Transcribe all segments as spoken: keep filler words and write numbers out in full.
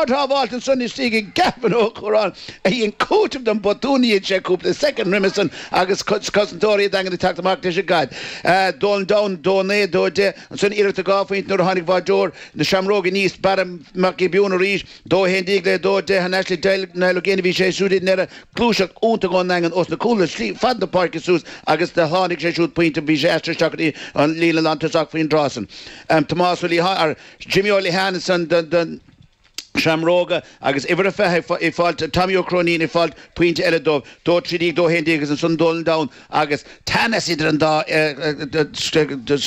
Ard-shábháilt ansan istigh ag Gavin Ó Cuaráin a dhein cúiteamh don botún a dhein sé cúpla soicind roimhe san agus cosantóirí an Daingin ag teacht amach leis an gcaid. Dolan Down dó naoi dó deich ansan iarracht dhá phointe nuair a tháinig báideoir na Seamróige aníos Barra Mac Giobúin arís dó haon déag le dó deich thar n-ais le Niall Ó Géibheannaigh bhí sé siúd i ndeireadh gluaiseacht iontach ón nDaingean os na cúla slí fad na páirce suas agus do tháinig sé siúd pointe bhí sé aistrithe isteach go dtí an líne lántosach faoin dtráth san. Tomás Ó Liatháin Jimmy Ó Liatháin ansan don Seamróga agus uimhir a fiche ag fáilt Tommy Ó Cróinín ag fáilt pointe eile dóibh, dó trí déag dó haon déag agus ansan Dolan Down agus teannas idir an dá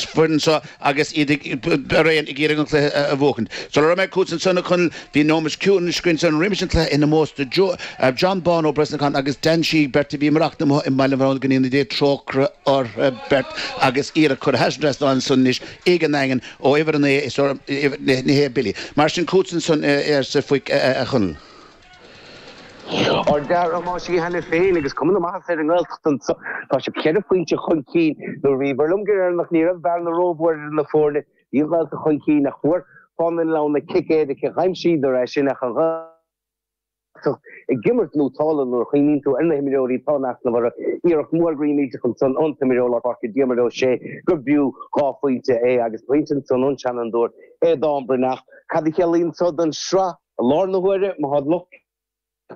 foireann seo agus iad araon ag iarraidh an cluiche a bhuachaint. Sula raibh mé chugat ansan a Chonaill bhí nóiméad ciúin againn ansan roimis an cluiche in ómós do John Bán Ó Brosnacháin agus Dan Sheehy beirt a bhí ag maireachtaint amuigh i mBaile an Bharúin go ndéana Dia trócaire orthu beirt agus iarracht curtha thar an trasnán ansan anois ag an nDaingean ó uimhir a naoi is ní hé Billy. Mar sin chugatsa ansan arsa Faik a Chonaill. Ardfhear Thomáis cheana féin agus cuma na maitheasa ar an nGaeltacht anseo. Tá siad ceithre phointe chun cinn nuair a bhí bhur liom go deireanach ní raibh bearna rómhór idir na foirne. Bhí an Ghaeltacht chun cinn ach fuair Fánaithe na Leamhna cic éirice d'aimsíodar é sin ach an Ghaeltacht ag imirt nótálta nuair a chuimhníonn tú ar na himreoirí atá in easnamh orthu. Iarracht mhór groí millteach ansan ón t-imreoir lár páirce Diarmuid Ó Sé gur b'fhiú dhá phointe é agus pointe ansan ón seanfhondúir Aodán Breathnach. Cad a chiallaíonn seo don sraith i láthair na huaire? Má tá lucht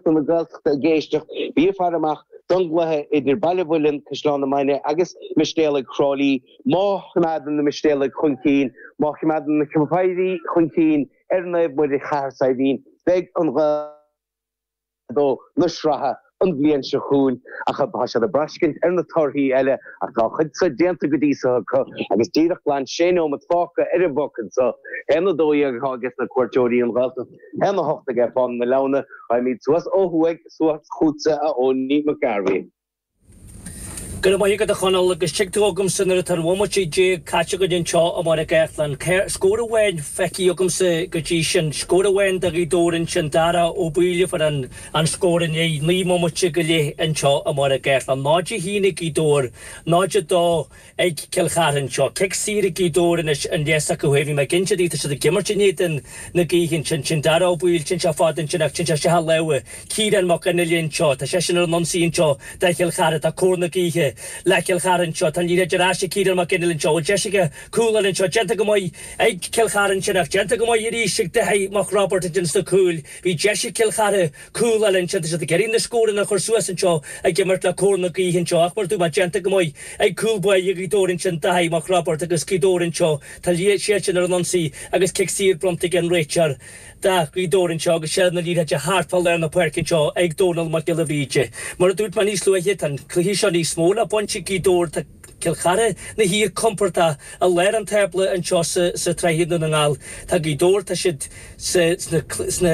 na Gaeltachta ag éisteacht, bí ag faire amach don gcluiche idir Baile Mhuilinn, Caisleán na Mainge agus Mistéalaigh Thrá Lí. Má choimeádann na Mistéalaigh chun cinn, má choimeádann na Ceapaire chun cinn ar Naomh Muire Chathair Saidhbhín, beidh an Ghaeltacht dó na sraithe an bhliain seo chugainn ach tá siad ag braiscint ar na torthaí eile ach tá a chuid seo déanta go dtí seo acu agus díreach glan sé nóiméad fágtha ar an bpoc anseo. Haon a dó dhéag atá aige na cuairteoirí an Ghaeltacht, haon a hocht aige Fánaithe na Leamhna, Raghaimid suas ó thuaidh suas chugatsa a Owenie McGarvey. Go raibh maith agat a Chonaill agus tig tú agamsa nuair atá an bhomaite déag caite againn anseo i mBaile Átha Cliath. Scór amháin feicthe agamsa go dtí sin, scór amháin do Ghaoth Dobhair ansin, Dara Ó Baoill a fuair an an scór i ndiaidh naoi mbomaite go leith anseo i mBaile Átha Cliath. Náid a haon ag Gaoth Dobhair, náid a dó ag Cill Chartha anseo. Cic saor ag Gaoth Dobhair anois an leas acu féin. Bhí mé ag inse daoibh, tá siad ag imirt in éadan na gaoithe ansin. Sin Dara Ó Baoill, sin sé fada ansin ach sin sé isteach i lámha Ciarán Mac Fhionnghaile anseo. Tá seisean ar an ionsaí anseo do Chill Chartha. Tá cóir na gaoithe le Cill Chartha anseo. Tá an liathróid ar ais ag Ciarán Mac Fhionnghaile anseo. Bhfuil deis aige cúl a fháil anseo. Déanta go maith ag Cill Chartha ansin ach déanta go maith arís ag Daithí Mac Roibeaird ansin sna cúil. Bhí deis ag Cill Chartha cúl a fháil ansin. Tá siad ag iarraidh na scóranna a chur suas anseo ag imirt le cóir na gaoithe anseo ach mar a dúirt mé déanta go maith ag cúl báire Ghaoth Dobhair ansin Daithí Mac Roibeaird agus Gaoth Dobhair anseo. Tá siadsan ar an ionsaí agus cic saor bronnta ag an réiteoir do Ghaoth Dobhair anseo agus seilbh na liathróide thart fá lár na páirce anseo ag Dónal Mac Giolla Bhríde. Mar a dúirt mé níos luaithe, tá an cluiche seo níos mó le baint ag Gaoth Dobhair. Tá Cill Chartha ina shuí compordach i lár an tábla anseo sa tsraith i nDún na nGall. Tá Gaoth Dobhair, tá siad sa sna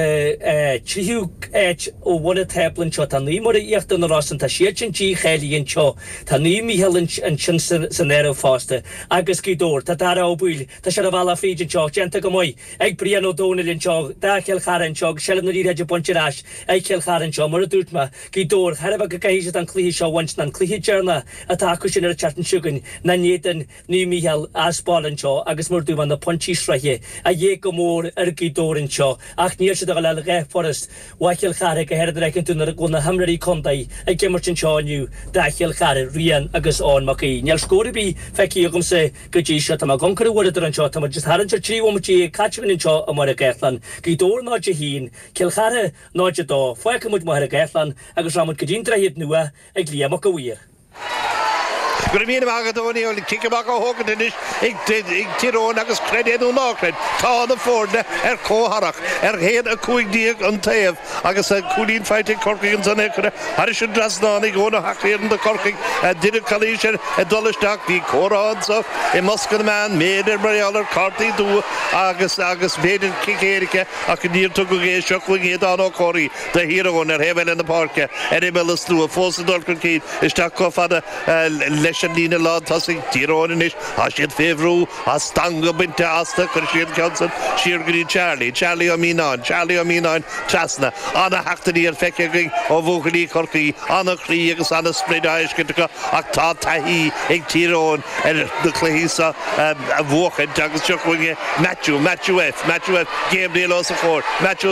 tríú áit ó bhun an tábla anseo. Tá Naomh Muire Íochtar na Rosann, tá siad sin dícháilithe anseo. Tá Naomh Mícheál ansin san áireamh fosta. Agus Gaoth Dobhair, tá Dara Ó Baoill, tá sé ar a bhealach fríd anseo, déanta go maith ag Brian Ó Domhnaill anseo, do Chill Chartha anseo agus seilbh na liathróide bainte ar ais ag Cill Chartha anseo. Mar a dúirt mé, Gaoth Dobhair, chairbhe go gcaithfidh siad an cluiche seo a bhaint ná an cluiche deireanach atá acu sin ar an tseachtain seo chugainn ná in éadan Naomh Mícheál as baile anseo agus mar a dúirt mé na pointí sraithe a dhíth go mór ar Ghaoth Dobhair anseo ach níl siad ag dul a dhath furast uaidh Chill Chartha go háirithe nuair a fheiceann tú nuair a bhfuil na himreoirí contae ag imirt anseo inniu do Chill Chartha, Rian agus Eoin Mac Aoidh. Níl scór ar bith feicthe agamsa go dtí seo. Tá mé ag amharc ar an uaireadóir anseo. Tá muid just thar an trí bhomaite déag caite againn anseo i mBaile Átha Cliath. Gaoth Dobhair náid a haon, Cill Chartha náid a dó. Fágfaidh muid Machaire Gathlán agus rachaidh muid go dtí an Droichead Nua ag Liam Mac a' Mhaoir. Go raibh míle maith agat a Owenie, cic amach á thógaint anois ag Tír Eoghain agus creid é nó ná creid, tá na foirne ar comhtharrac ar haon a cúig déag an taobh agus cúilín faighte ag Corcaigh ansan é curtha thairis an dtrasnán ag Eoin Ó hEachthiarna do Chorcaigh. Deineadh calaois air ag dul isteach. Bhí comhrá anso i mbosca na mbeann, b'fhéidir mar gheall ar cártaí dubha agus agus b'fhéidir cic éirice ach níor tugadh é. Seo chugainn Aodán Ó Comhraí do Thír Eoghain ar thaobh eile na páirce ar imeall an tslua fós ag dul chun cinn isteach chomh fada leis an líne lán tosaigh. Tír Eoghain anois, tá siad fé bhrú, tá stangadh bainte astu, chuir siad an ceann san siar go dtí Charlie, Charlie Ó Mianáin, Charlie Ó Mianáin trasna. Ana-theacht aniar feicthe againn ó bhuachaillí Chorcaí, ana-chroí agus ana-sprid á fheiscint acu ach tá taithí ag Tír Eoghain ar na cluichí seo a bhuachaint agus seo chugainn Matthew, Matthew F, Matthew F, Gabriel os a chomhair, Matthew.